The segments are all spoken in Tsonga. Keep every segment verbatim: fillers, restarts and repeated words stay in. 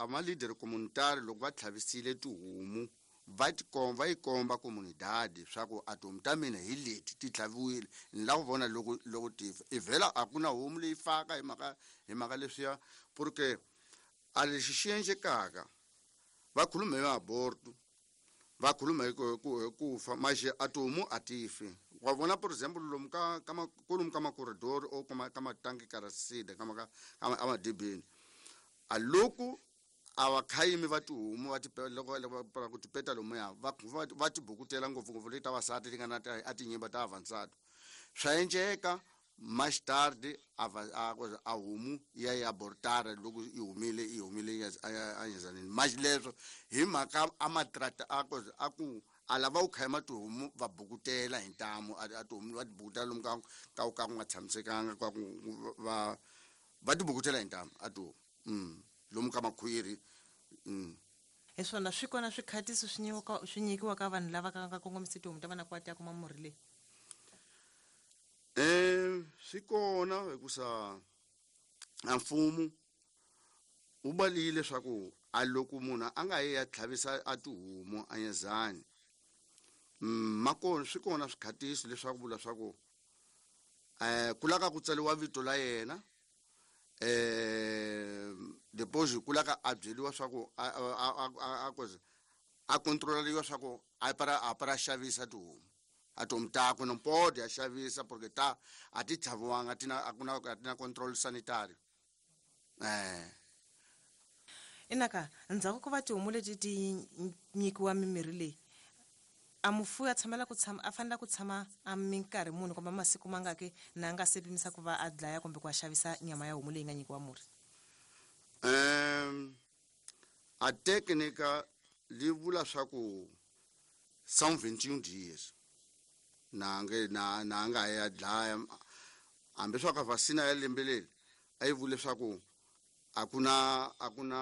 ma leader communitary loko va tlhavisile tihomu va tikomba va yi komba comunidade swa ku a tihomu ta mina hi leti ti tlhaviwile ni lava ku vona loko loko ti fa i vhela a ku na homu leyi faka hi mhaka hi mhaka leswiya porque a lexi xi endlekaka va khuluma hi aborto va khuluma hi ku ku hi ku fa maxe a tihomu a ti fi wa vona por example lomu ka ka kolomu ka makoridori o ka ka matanki karasida ka ka ka amadibini a loko a vakhayimi va tihomu va ti loko loko ku ti peta lomuya va va ti bukutela ngopfungopfu leti ta vasati ti nga na a tinyimba ta avansati swa endleka mais tarde a a a homu ya ya abortara loko yi humile yi humile a nyezanini mas leswo hi mhaka a matrata a ku a ku a lava ku khayima tihomu va bukutela hi ntamu a tihomu va ti bukutela lomu ka ka ka ku nga tshamisekanga ka ku va va ti bukutela hi ntamu a tihomu mm lomu ka makhwiri mm hi swona swi kona swikhatiso swi nyikiwa swi nyikiwa ka vanhu lava ka nga kongomisi tihomu ta vana ku va ti ya kuma murhi leyi eh swi kona hikusa a mfumo wu balile leswaku a loko munhu a nga yi ya tlhavisa a tihomu a nyezani ma kona swi kona swikhatiso leswaku vula swa ku eh ku laka ku tsariwa vito la yena eh depois ku laka a byeriwa swa ku a a a a a controlariwa swa ku a para a para xavisa tihomu a tihomu takwe no pode a xavisa porque ta a ti tlhaviwanga tina a ku na a ti na control sanitary eh inaka ndzhaku ko va tihomu leti ti nyikiwa mimirhi leyi a mufuwi a tshamela ku tshama a fanele ku tshama a minkarhi muni kumbe masiku mangaki na nga se pimisa ku va a dlaya kumbe ku a xavisa nyama ya homu leyi nga nyikiwa murhi um a técnica li vula swa ku são vinte e um dias na nge na na nga ya dlaya hambi swa ka vacina ya lembe leri a yi vule swa ku a ku na a ku na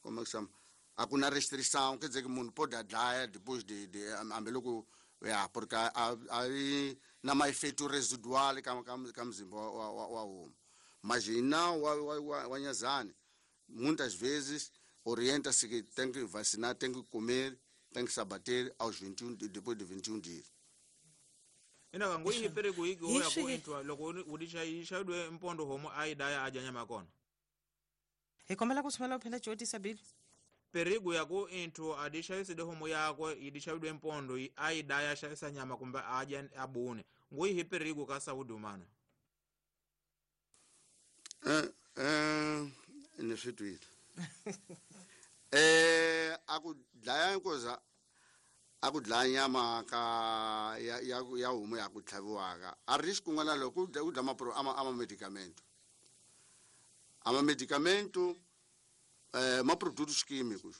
como é que chama a ku na restrição quer dizer que munhu pode a dlaya depois de, de hambi loko ya porque a a yi na maefeito residual ka ka ka mzimba wa wa wa homu mas hina wa wa wa, wa nyazani muitas vezes orienta-se que tem que vacinar, tem que comer, tem que se abater aos vinte e um, depois de vinte e um dias. Ina ngo yi pere ku yi Hi ya ku swihi- intwa loko u di xayi xayiwe mpondo homu a yi daya a dya nyama ya kona hi kombela ku sumela u phinda cotisa bili perigo ya ku inthu a di xavisile homu yakwe yi di xaviwe mpondo yi- a yi daya a xavisa nyama kumbe a dya a bune ngo yi hi perigo ka saúde humana Eh, eh, ni swi twile eh a ku dlaya nkoza a ku dlaya nyama ka ya ya ya homu ya ku tlhaviwaka a risk kun'wana loko u dya u dya mapro ama ama medicamento ama medicamento eh ma produtos químicos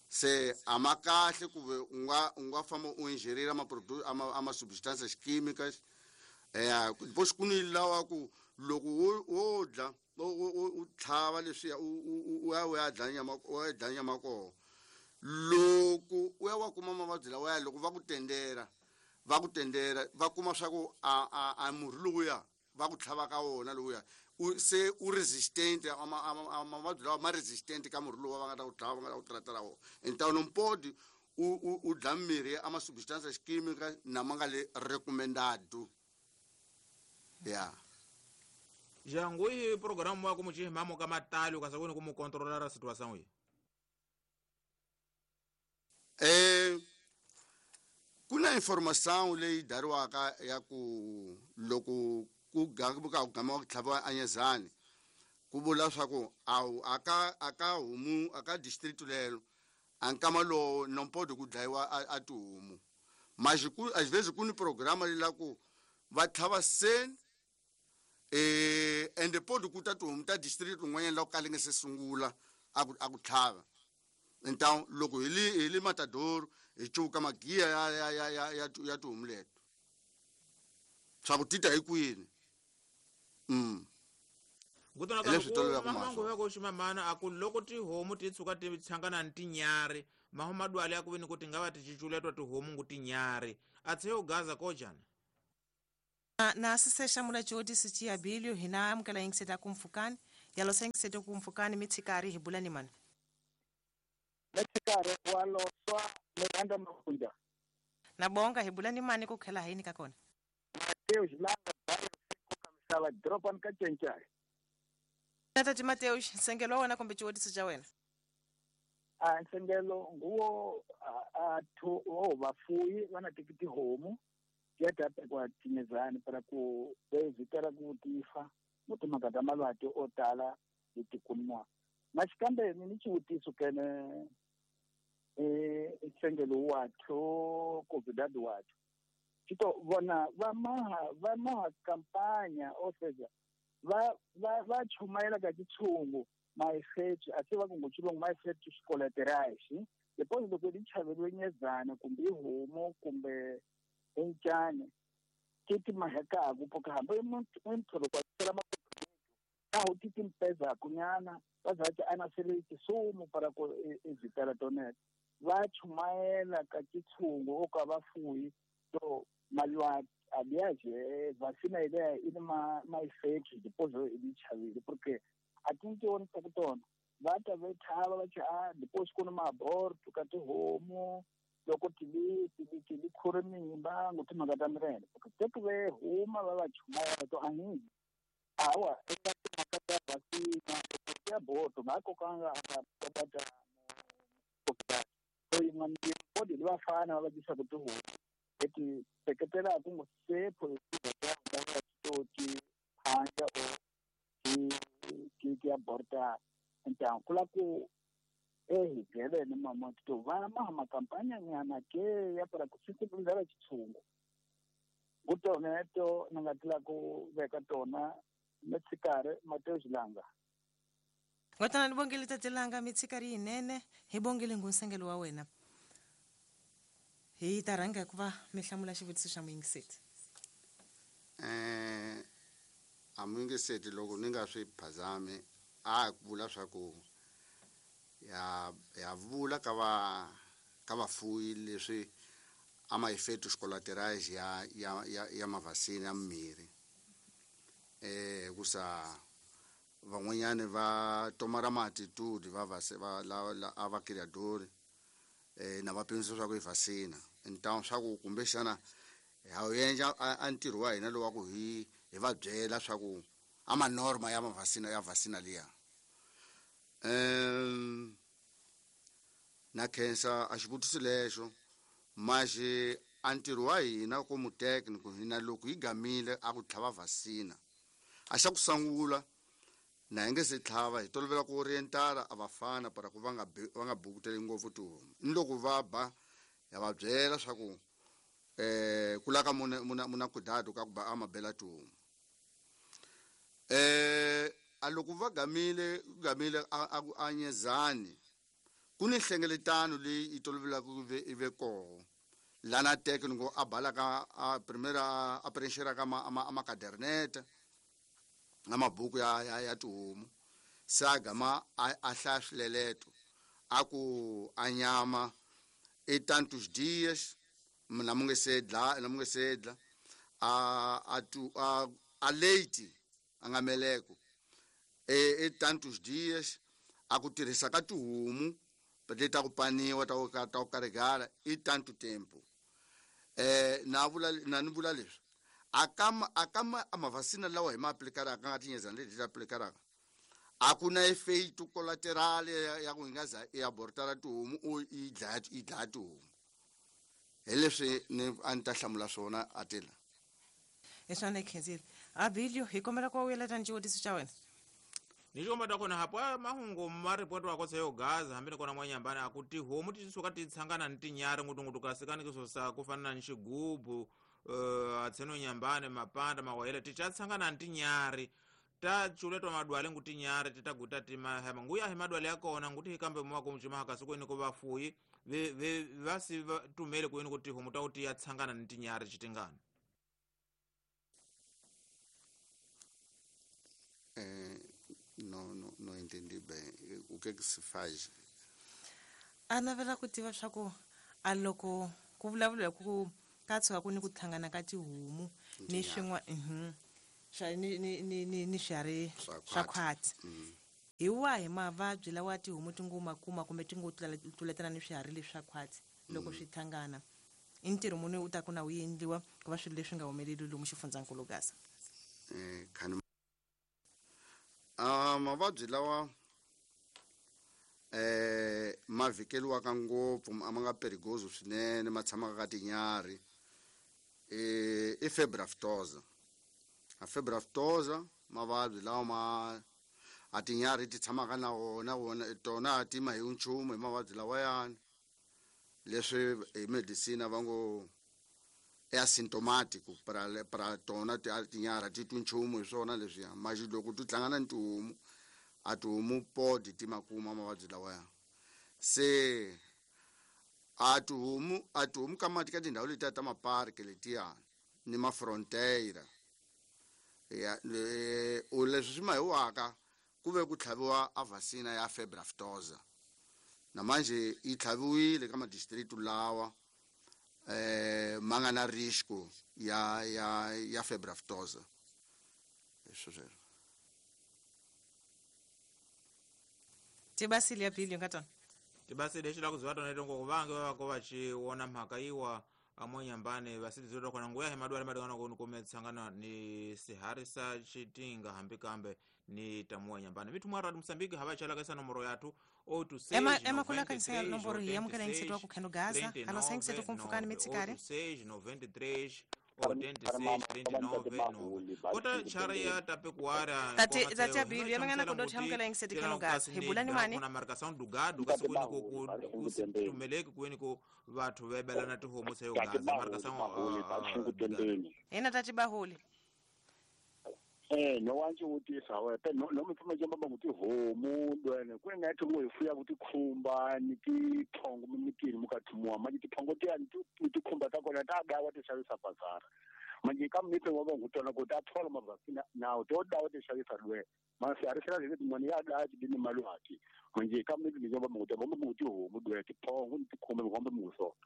se a ma kahle ku ve u nga u nga famba u ingerir ama produto ama ama substâncias químicas eh depois ku ni lawa ku loko wo wo dla u u- u tlhava leswiya u u- u ya u ya dlaya nyama u ya dlaya nyama koho loko u ya wa kuma mavabyi lawaya loko va ku tendera va ku tendera va kuma swa ku a a a murhi lowuya va ku tlhava ka wona lowuya u se u resistant ama ama ama- mavabyi lawa ma resistant ka murhi lowu va nga ta ku tlhava va nga ta ku tratela wona então não pode u u u dla mirhi ama substâncias químicas na ma nga le recomendado ya jangu yi programu wa ku mucihimamo ka matali ukasa kuni ku mu controlar a situação yi Eh ku na informação leyi dariwaka ya ku loko ku ga- ku ka gama ku tlhaviwa anyezani ku vula swa ku a wu- a ka a ka homu a ka district lelo a nkama lowo não pode ku dlayiwa a, a tihomu mas ku às vezes ku ni programa leyi ku va tlhava seni eh ende pode ku ta tihomu ta district rin'wanyana la ku kale nge se sungula a ku a ku tlhava então loko hi li hi li matador hi cuka magiya ya ya ya ya ya ya tihomu leto swa ku tita hi kwini mm ngutona Hi leswi tolovelaka mamangu mahlo. ya ku ximamana a ku loko tihomu ti tshuka ti tshangana ni tinyari maho madwale ya ku veni ku ti nga va ti cuculetwa tihomu ngu tinyari a tshe u gaza kojana na, na sise xamula cotisi ciabilio hina amukela yingiseta ku mpfukani Yalo sengisete ku mpfukani mi tshikari hi bula ni mani. Metsikare wa loswa Miranda Makunja. Na bonga hi bula ni mani ku khela hayini ka kona. Mateus Langa bayo ka misava dropan ka Tshentshai. Tata Mateus nsengelo wa wena kumbe xivutiso xa wena. A nsengelo nguwo a thu o vafuyi va na tikiti homu ya ta kwa tinyezani para ku vezitela ku tifa mo timhaka ta malwati o tala hi tikunwa. Na xikambe ni ni xivutiso kene eh nsengelo wa tho COVID wa tho vona va maha va maha kampanya o seja va va va chumayela ka tshungu maefeto a se va ku ngutshilongo maefeto colaterais depois loko di chaveliwe nyezana kumbe ihomo kumbe encane ke ti mahekaku porque hambi muntu loko a tsela makoto ti timpeza kunyana va za ana sele tisumu para ku evitela tonet va chumayela ka tshungu o ka vafuyi to malwati aliás vacina ideia e ma ma efeitos depois ele chavile porque a tinti on tona va ta ve thava va cha depois ku na aborto ka tihomu loko ti li ti li ti li khore mimba ngo timhaka ta mirene porque te ku ve huma va va chumayela to ahi awa eka timhaka ta vacina ya aborto va kokanga va ta ta so yin'wana body li vafana va va dyisa ku tihomu eti seketela ku ngo sepho va to ti phanja o ti ti ti aborta então kula ku eh gelene mama to va ma kampanya nyana ke ya para ku sensibilizar tshungu kutoneto ni nga tila ku veka tona metsikare Mateus Langa. Ngotana ni bongile tatelanga mitsikari yinene hi bongile ngunsengelo wa wena. Hi ta rhanga ku va mi hlamula xivutiso xa muyingiseti. Eh a muyingiseti loko ni nga swi phazami a ku vula swa ku ya ya vula ka va ka vafuyi leswi a ma efeitos colaterais ya ya ya, ya mavasina ya mmirhi eh kusa van'wanyani va tomara maatitude va va va la a va criador eh na va pimisa swa ku i vacina então swa ku kumbexana ha wu endla a ntirho wa hina lowa ku hi hi va byela swa ku a manorma ya mavasina ya vacina liya um na khensa a xivutiso lexo maxi a ntirho wa hina como técnico hina loko hi gamile a ku tlhava vacina a xa ku sungula na hi nge se tlhava hi tolovela ku orientala a vafana para ku va nga va nga bukuteli ngopfu tihomu ni loko va ba ya va byela swa ku eh ku laka muna muna muna cuidado ka ku ba a mabela tihomu eh a loko va gamile gamile a a nyezani ku ni nhlengeletano leyi yi tolovelaka ku ve i ve koho lana técnico a bala ka a primeira a preencher ka ma ma ma caderneta na mabuku ya ya, ya tihomu se a gama a hlaya swileleto a ku a nyama e tantos dias na mu nge se dla na mu nge se dla a a tu a a leite a nga meleko e e tantos dias a ku tirhisa ka tihomu leti ta ku paniwa ta ku ta ku karigala i tanto tempo eh na vula na ni vula leswi akama akama amavasina lawa hi ma aplikaraka nga tinyezana leti ti aplikaraka a ku na efeito colateral ya ku hi nga za i abortara tihomu o i dlaya i dlaya tihomu hi leswi ni a ni ta hlamula swona a tila hi swona khensile Abilio hi kombela ku wuyeleta ni xivutiso xa wena. Ni xomba ta kona hapo mahungu ma ripoti wa kotsa yo gaza hambi ni kona mwanyambani a ku tihomu ti suka ti tshangana ni tinyari ngutungutu kasi kani kisosa ku fana ni xigubu uh, atseno nyambani mapanda mawayele ti cha tshangana ni tinyari ta chuletwa madwale ngu tinyari ti ta guta ti mahema nguya hi madwale ya kona nguti hi kambe mwa ku mchima kasi ku ku vafuyi ve ve va si va tumele ku ku tihomu ta ku ti ya tshangana ni tinyari xitingana. Eh no no no entendi bem o que que se faz. A navela ku tiva swa ku a loko ku vulavula ku ka tshuka ku ni ku tlhangana ka tihomu ni swin'wana mhm swa ni ni ni ni, ni swiharhi swa khwati. Hi wahi mavabyi lawa tihomu ti ngo ma kuma kumbe ti ngo tluletana ni swiharhi leswi swa khwati loko swi hlangana? I ntirho muni u ta ku na wu endliwa ku va swilo leswi nga humeleli lomu xifundzankulu Gaza? Eh khani a mavabyi lawa eh ma vhikeliwaka ngopfu a ma nga perigoso swinene ma tshamaka ka tinyarhi eh i febre aftosa. A febre aftosa mavabyi lawa ma a tinyarhi ti tshamaka na wona wona tona a ti ma hi nchumu hi mavabyi lawayani leswi hi medicine va ngo i asymptomatic para para tona ti tinyarhi ti twi nchumu hi swona leswiya manje loko ti hlangana ni tihomu a tihomu podi ti ma kuma mavabyi lawaya. Se a tihomu a tihomu ka mati ka tindhawu letiya ta maparki letiya ni mafrontiera ya u leswi swi mahiwaka ku ve ku tlhaviwa a vaccine ya febre aftosa na manje yi tlhaviwile ka madistrict lawa eh ma nga na risco ya ya ya febre aftosa. Leswo sweswo tibasile ya bili nga tona tibasile lexi la ku ziva tona leto vange va va va ci wona mhaka yiwa amonyambane vasidzi kona nguya hi madwale madwana ku kume tsangana ni sihari sa chitinga hambi kambe ni tamuwa nyambane mithu mwa radi Mosambiki hava chala ka nomoro yathu ema ema kula kanisa nomboro hi amukela ngisetwa ku kheno Gaza alo sengisetwa kumfukani mitsikare seis noventa e três oitenta e seis trinta e nove kota chara ya tapekuara tati tati abili yamangana ku dot amukela ngisetwa kheno Gaza hibulani mani kuna marcação do gado kasi kweni ku kutumeleki kweni ku vathu vebelana tihomu tsa yo Gaza marcação ena tati baholi eh no wanje utisa wena no no mipfuma jamba ba kuti homu dwene ku nga thi ngo ifuya kuti khumba ni ti thongo mitini mukathumuwa manje tiphongo ti ani ti khumba ta kona ta dawa ti xavisa bazara manje ka mipe wa va ngutona ku ta thola mavasina nawo to dawa ti xavisa lwe masi a ri sela zile tin'wana ya daya ti ni malwati manje ka mipe ni jamba ngutona ba kuti homu dwene tiphongo ni tikhumba ngombe muso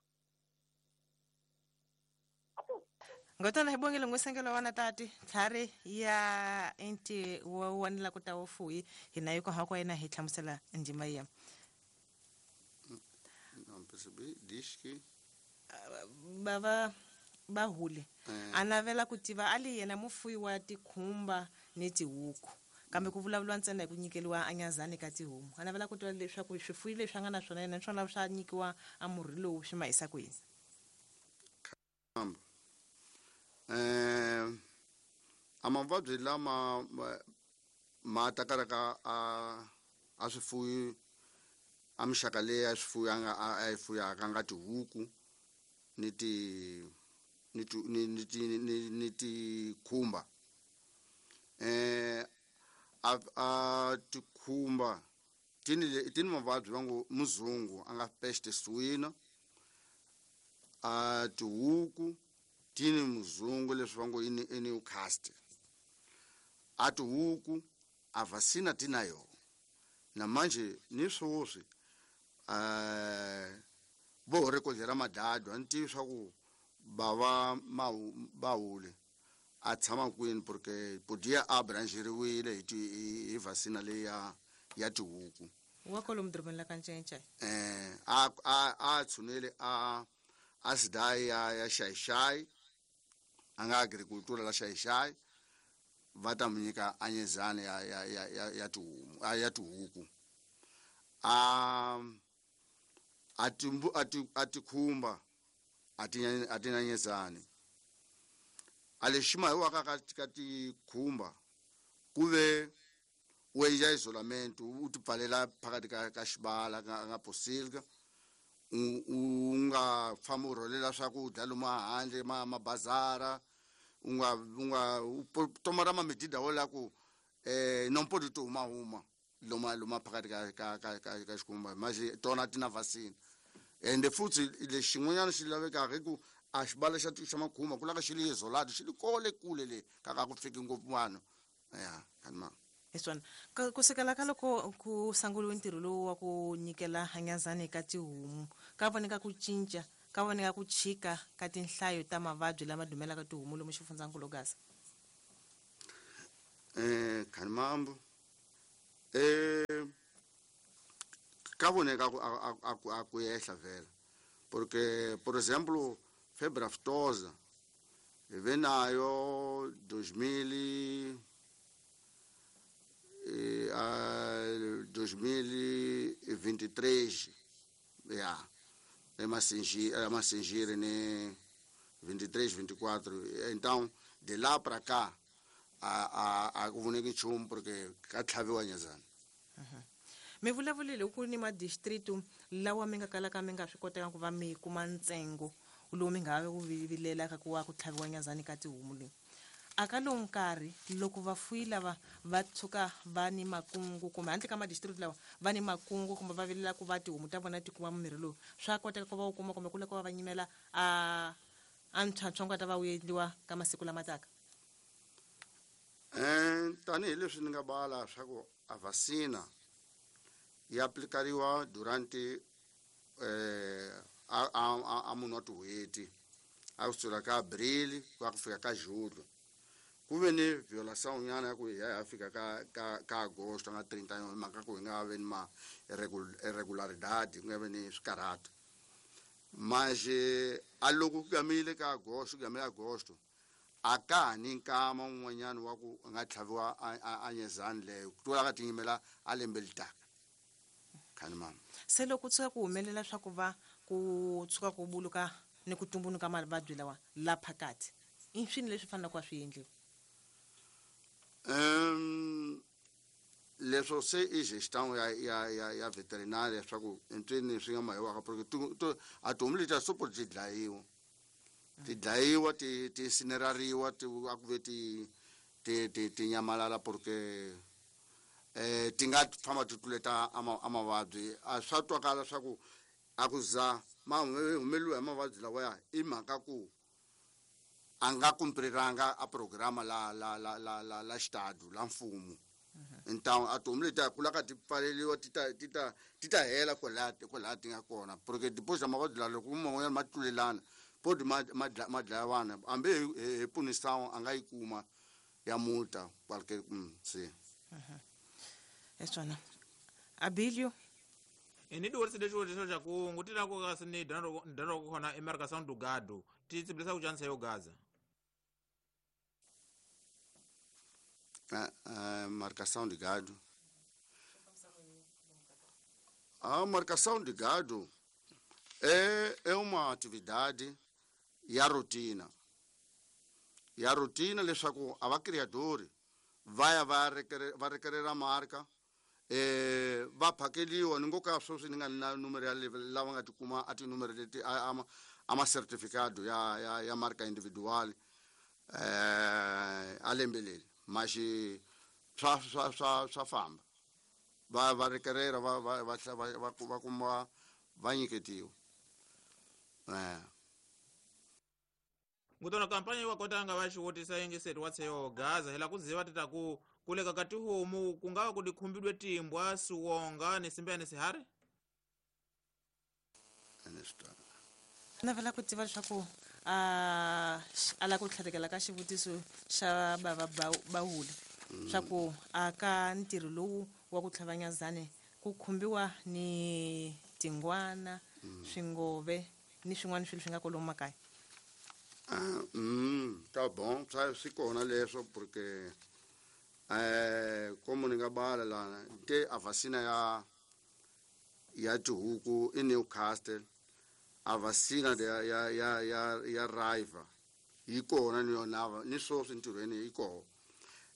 ngotona hi bongile ngusengelo wana tati tlhari ya inti wa wanela ku ta wufuyi hina yi ko ha ko yena hi hlamusela ndima ya não percebi diz que bava bahule anavela ku tiva ali yena mufuyi wa tikhumba ni tihuku kambe ku vulavuriwa ntsena hi ku nyikeliwa anyazani ka tihomu anavela ku tiva leswaku swifuyi leswi a nga na swona yena naswona swa nyikiwa a murhi lowu swi ma yisa kwini. Eh a mavabyi lama ma takaraka a a swifuyi a mixaka leyi ya swifuyi a nga a yi fuyaka nga tihuku ni ti ni ti ni ti ni ni tikhumba eh a a tikhumba tini tini mavabyi va ngo muzungu a nga peste suina a tihuku tini muzungu leswi va ngo ini Newcastle a tihuku a vasina tina yo na manje ni swoswi eh vo rekodera madadu a ni tivi swa ku bava bahule a tshama kwini porque podia a brancheriwile hi ti hi vasina leyi ya ya tihuku wa kwalomu dorobeni la ka Ncencei eh a a a tshunele a a sidai ya ya xaixai a nga agricultura la xaixai va ta mu nyika anyezani ya ya ya ya ya tihomu a ya tihuku a a timbu a ti a tikhumba a ti a ti nanyezani a lexi ma hi waka ka ka tikhumba ku ve u endla isolamento u ti pfalela phakathi ka ka xibala ka nga posilka u nga fambi u rholela swakudya lomu handle ma mabazara u nga u nga toma ra mamedida wo la ku eh não pode tomar uma loma loma phakathi ka ka ka ka ka xikhumba manje tona ti na vaccine ende futhi lexin'wanyana xi lavekaka hi ku a xibala xa xa makhumba ku lava xi li isolate xi li kole kule le ka ka ku fiki ngopfu vanhu ya kanma hi swona ku sukela ka loko ku sunguriwe ntirho lowu wa ku nyikela hanyazani ka tihomu ka voneka ku cinca ka voneka ku chika ka tinhlayo ta mavabyi lama dumelaka tihomu lomu xifundzankulu Gaza. Eh khanimambo eh ka voneka ku a ku a ku yehla vela porque por exemplo febre aftosa hi ve nayo dois mil e dois mil e vinte e três ya é Massingir né vinte e três, vinte e quatro. Então de lá para cá a a a ku voneki nchumu porque ka tlhaviwa nyazana. Mi vulavulile ku ni madistritu lawa mi nga kalaka mi nga swi koteka ku va mi kuma ntsengo lowu mi nga ku vilelaka ku wa ku tlhaviwa nyazani ka tihomu leyi. A ka lowu nkarhi loko vafuyi lava va tshuka va ni makungu kumbe handle ka madistrict lawa va ni makungu kumbe va vilela ku va tihomu ta vona ti kuma mimirhi lowu, swa koteka ku va wu kuma kumbe ku lava ku va va nyimela a a ntlhantlho nga ta va wu endliwa ka masiku lama taka? Eh tanihileswi ni nga bala swa ku a vacina yi aplikariwa durante eh a a a munhu wa tin'hweti a kusuka ka Abril ku ya ku fika ka Julho. Ku ve ni violação nyana ya ku hi ya fika ka ka ka agosto nga trinta hi mhaka ku hi nga vi ni ma irregularidade ku nga vi ni swikarhato. Mas a loko ku gamile ka agosto ku gamile agosto a ka ha ni nkama wun'wanyana wa ku nga tlhaviwa a nyezani leyo ku tlula ka tinyimela a lembe litaka. Khanimama se loko tshuka ku humelela swa ku va ku tshuka ku buluka ni ku tumbunuka mavabyi lawa la phakathi i swini leswi faneleke ku va swi endliwa? Um leswo se i gestão ya ya ya ya veterinária swa ku entsweni swi nga mahiwaka porque a tihomu letiya sopo ti dlayiwa ti dlayiwa ti ti incinerariwa ti a ku ve ti ti ti ti nyamalala porque eh ti nga famba ti tluleta a mavabyi. A swa twakala swa ku a ku za ma humeliwa hi mavabyi lawaya i mhaka ku a nga kumpriranga a programa la la la la la la xitado la mfumo. Então a tihomu letiya ku laka ti pfaleliwa ti ta ti ta ti ta hela kwalaya kwalaya ti nga kona porque depois ta mavabyi lawa loko man'wanyana ma tlulelana podi ma ma ma dlaya vana hambi hi hi punição a nga yi kuma ya multa qualquer sim. Eswana Abilio ni diworisile xivutiso xa ku ngutila ku kasi ni dano ku khona emarcação do gado ti tsibilisa ku chansa yo gaza? A marcação de gado. A marcação de gado é, é uma atividade e a rotina. E a rotina leswaku a va criador vai va requerer va requerer a marca eh va phakeliwa ni ngoka sweswi ni nga na numero ya lava nga tikuma a tinumero leti a a ma certificado ya ya ya marca individual eh a lembe leri mas swa swa swa swa famba va va requerer va va va va va kuma va nyiketiwa eh ngutona kampanya yi wa kota nga va xivutisa yingiseri wa tseyo gaza hela ku ziva tita ku kuleka ka tihomu ku nga va ku dikhumbidwe timbwa siwonga ni simbe ni sihari? Navela ku tiva leswaku a a la ku tlhatekela ka xivutiso xa bava bahuli swa ku a ka ntirho lowu wa ku tlhava nyazani ku khumbiwa ni tingwana swingove ni swin'wana swilo swi nga kwalomu makaya. Ah, mm, tá bom, swi kona leswo porque eh como ni nga bala lana te a vacina ya ya tihuku i Newcastle a vacina ya ya ya ya ya raiva yi kona ni yona ni sweswi ntirhweni yi kona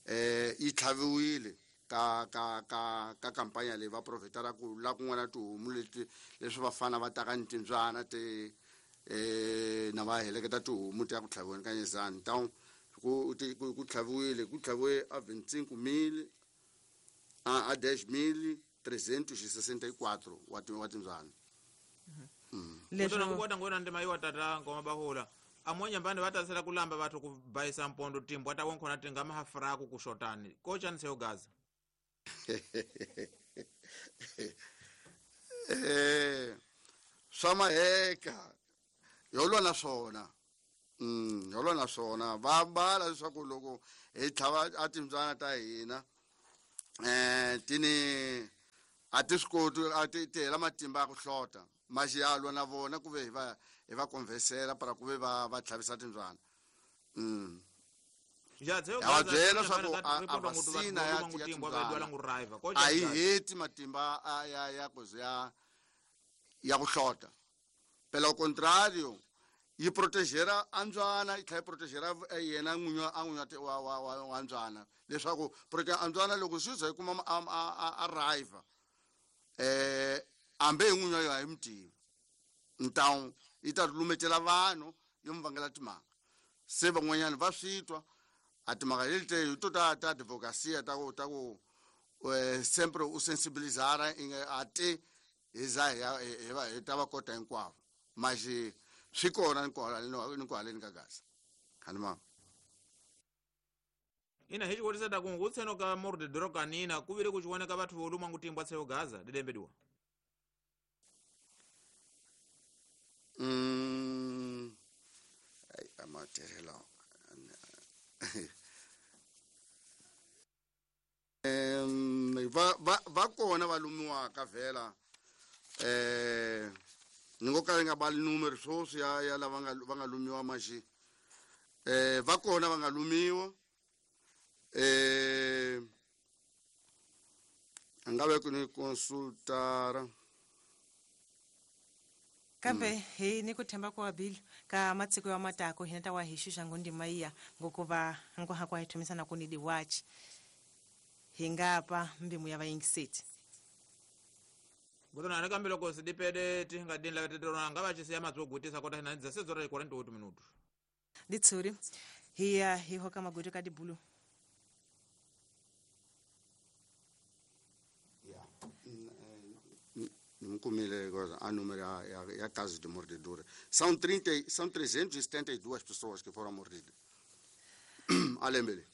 eh yi tlhaviwile ka ka ka ka kampanya leyi va profetara ku la kun'wana tihomu leti leswi vafana va taka ni timbyana ti eh na va heleketa tihomu ti ya ku tlhaviweni ka nyezani. Então ku ku tlhaviwile ku tlhaviwe a vinte e cinco mil a a dez mil trezentos e sessenta e quatro wa wa timbyana. Leswi ku kota ngona ndima yiwa tata ngoma bahula amwe nyambani va tasela ku lamba vathu ku bayisa mpondo timbwa ta wonkhona ti nga mahafraku ku xotani ko chanisa yo gaza? Eh swa maheka yo lwa na swona Mm holo na swona va mbala leswaku loko hi tlhava a timbyana ta hina eh tini a ti swi koti a ti ti hela matimba ya ku hlota maxiyalwa na vona ku ve hi va hi va conversela para ku ve va va tlhavisa timbyana. Mm ja tseo va byela swa ku a vaccine ya ya timbyana a yi heti matimba a ya ya ku ya ya ku hlota. Pelo contrario yi protegera andzwana yi tlhela yi protegera yena n'winyi a n'winyi wa wa wa wa ndzwana leswaku porque andzwana loko swi za yi kuma a arrive eh ambe hi n'winyi wa yona hi mutivi então yi ta lumetela vanhu yo mi vangela timhaka se van'wanyana va swi twa a timhaka leti te hi to ta ta advocacia ta ku ta ku sempre u sensibilizara a te hi za hi hi va hi ta va kota hinkwavo maxi swi kona ni kwaleni ka Gaza khani mama ina hi xikolisa ta ku ngutseno ka mordedoro kanina ku vile ku xivoneka vathu vo luma ngutimbwa tseo Gaza didembediwa. Mm ai amaterelo em va va va kona va lumiwaka vhela eh ni ngo ka nga bali numero swoswi ya ya lava nga va nga lumiwa maxi eh va kona va nga lumiwa eh nga ve ku ni consultara kambe hi ni ku themba ku abilo ka matsiko ya matako hina ta wa hi xuxa ngondima iya ngokuva nkoha kwa hi thumisana ku ni diwachi hi nga pa mbimu ya vayingiseti. Ngotona kambe loko sidipede ti nga din la tetrona nga va xisiya matsogutisa kota hina dza sezora quarenta e oito minutos. Ditsuri hi ya hi hoka magudu ka dibulu. Ya nimkumile a número ya ya casos de mordedura. São trinta, são trezentos e setenta e duas pessoas que foram mordidas. Alembele.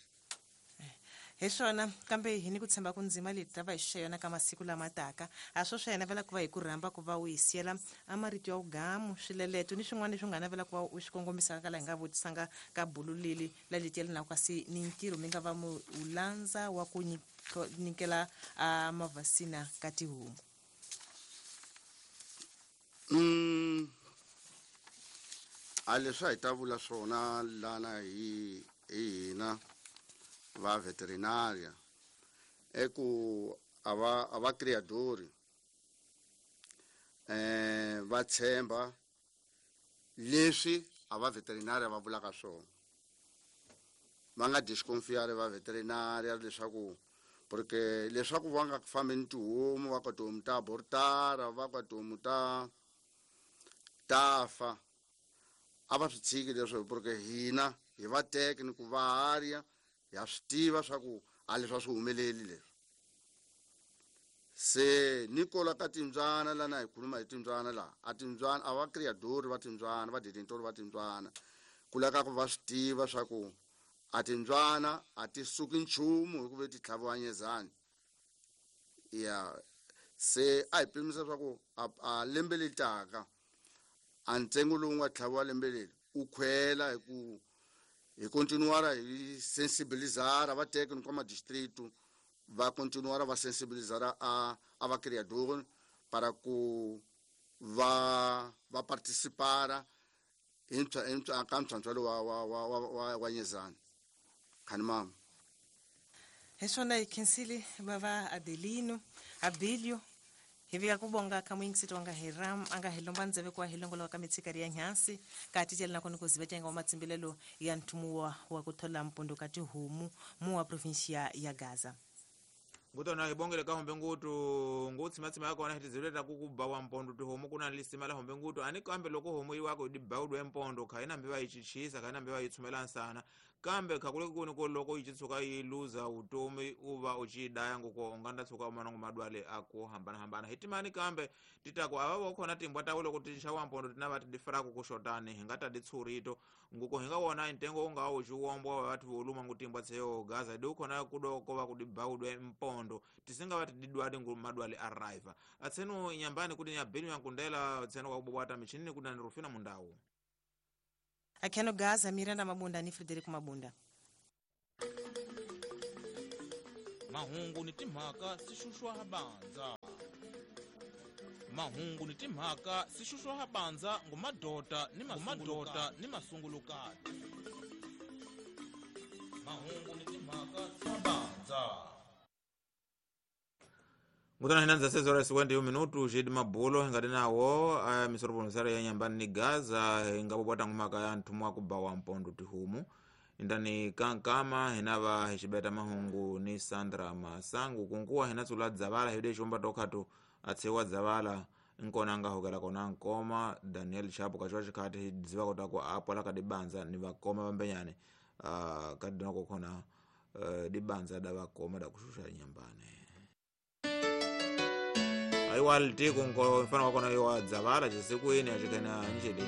Hi swona kambe hi ni ku tshemba ku ndzima leti ta va hi xuxa yona ka masiku lama taka a swo swa yena vela ku va hi ku rhamba ku va u hi siyela a marito ya ugamu swileleto ni swin'wana leswi u nga navela ku va u swi kongomisaka ka laha hi nga vutisanga ka bulu leli la leti ya linaku kasi ni ntirho mi nga va mu u landza wa ku nyikela a mavhasina ka tihomu. Mm a leswi a hi ta vula swona lana hi hi hina va veterinaria e ku a va a va criadori eh va tshemba leswi a va veterinaria va vulaka swona va nga disconfiare va veterinaria leswaku porque leswaku va nga fambi ni tihomu va ka tihomu ta abortara va ka tihomu ta ta fa a va swi tshiki leswo porque hina hi va teke ni ku va harya ya swi tiva swa ku a leswi a swi humeleli leswi se ni kola ka timbyana lana hi khuluma hi timbyana laha a timbyana a va criadori va timbyana va detentori va timbyana ku lava ku va swi tiva swa ku a timbyana a ti suki nchumu hi ku ve ti tlhaviwa nyezani ya se a hi pimisa swa ku a lembe leri taka a ntsengo lowu nga tlhaviwa lembe leri u khwela hi ku hi continuara hi sensibilizara va teke ni kwa distrito va continuara va sensibilizara a a va criador para ku va va participara into into ka ntlhantlho wa wa wa wa wa nyezani khani mama. Hi swona hi khensile va va Adelino Abilio hi vika ku bonga ka muyingiseti wa nga hi ram a nga hi lomba ndzeve ku wa hi longoloka ka mitshikari ya nhansi ka titela na kona ku ziva tyenga wa matsimbilelo ya nthumu wa wa ku thola mpondo ka tihomu mu wa provinsia ya Gaza. Ngutona hi bongele ka hombe ngutu ngutsimatsima ya kona hi tizivile ta ku ku ba wa mpondo tihomu ku na lisima la hombe ngutu ani kambe loko homu yi wako di bawudwe mpondo kha ina mbiva yi chichisa kha ina mbiva yi tshumela nsana kambe kha kule kuni ko loko yi tshuka yi luza utomi u va u chi daya ngoko u nga nda tshuka u manongo madwale a ku hambana hambana hi timani kambe titako ava vo khona timbwa ta loko ti xa wa mpondo tina va ti difraku ku xotani hi nga ta di tshurito ngoko hi nga wona ntengo u nga wu xiwombo wa vathu vo luma ngutimbwa tseyo Gaza di khona ku do ko va ku di bawudwe mpondo tisinga va ti didwadi ngu madwale arrive atseno inyambani kuti ya belu ya nkundela tseno kwa kubwata michinini kuti ni Rufina Mundau. Akheno Gaza, Miranda Mabunda ni Frederico Mabunda. Mahungu ni timhaka sixuxwa ha bandza. Mahungu ni timhaka sixuxwa ha bandza ngumadota ni ngumadota ni masungulukati. Mahungu ni timhaka bandza. Ngutana hina nza seis horas cinquenta e um minutos de mabulo hingati nawo uh, misoroponosara ya nyambani ni Gaza ingapopwata ngumaka ya nthumwa kubawa mpondo tihumu indani kankama hinava hicibeta mahungu ni Sandra Masangu kunkuwa hinatsula dzavala hide xumba tokhatu atshewa dzavala nkona angahokela kona nkoma Daniel Chapo kachiwa xikhati hidziva kotako apwala kadibanza ni vakoma vambenyane uh, kadinako khona uh, dibanza da vakoma da kuxuxa nyambani aiwa litiku nko mfano wakona iwa dzavala cisiku ine acikhena nxidini.